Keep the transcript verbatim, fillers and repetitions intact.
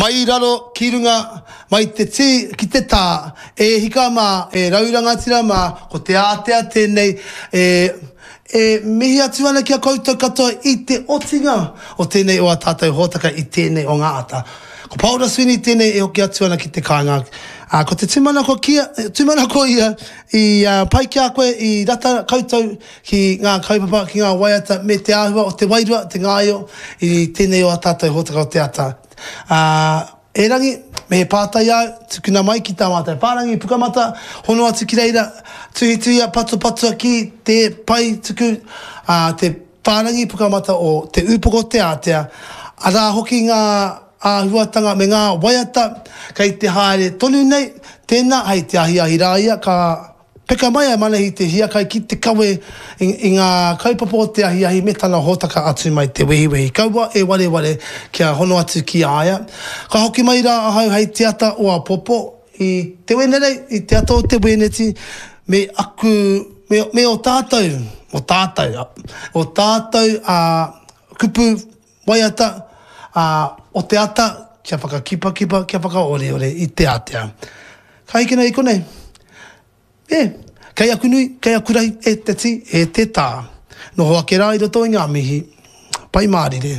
Mai raro ki runga, mai te tī ki te tā, e hika mā, e rau rangatira mā, ko te ātea tēnei e, e mihi atu ana ki a koutou katoa i te otinga o tēnei o a tātou hōtaka i tēnei o ngā ata. Ko Paora Sweeney tēnei e hoki atu ana ki te kāinga. Ā, ko te tūmanako kia, tūmanako ia i uh, pai ki a koe, i rata koutou ki ngā kaupapa, ki ngā waiata me te āhua o te wairua, te ngāio i tēnei o a tātou hōtaka o te ata. Ā, erangi, me he pātai āu, tukuna mai ki tā mātou whārangi pukamata, hono atu ki reira, tuhituhia, patupatua ki te pae tuku, ā, te whārangi pukamata o Te Ūpoko o Te Ātea, arā hoki ngā āhuatanga me ngā waiata kei te haere tonu nei, tēnā, hei te ahiahi rā ia ka Peka mai a Manahi te hiakai ki te kawe i, i ngā kaupapa o te ahiahi me tana hōtaka atu mai te wehiwehi. Kaua e wareware kia hono atu ki a ia. Ka hoki mai rā ahau hei te ata o apopo i te Wenerei, i te ata o te Wēneti, me aku, me, me o tātou, o tātou, o tātou a kupu waiata a, o te ata kia whakakipakipa, kia whakaoreore i te ātea. Ka hikina i konei. E, kei aku nui, kei aku rahi, e te tī, e te tā. Noho ake rā i roto i ngā mihi. Pai mārire.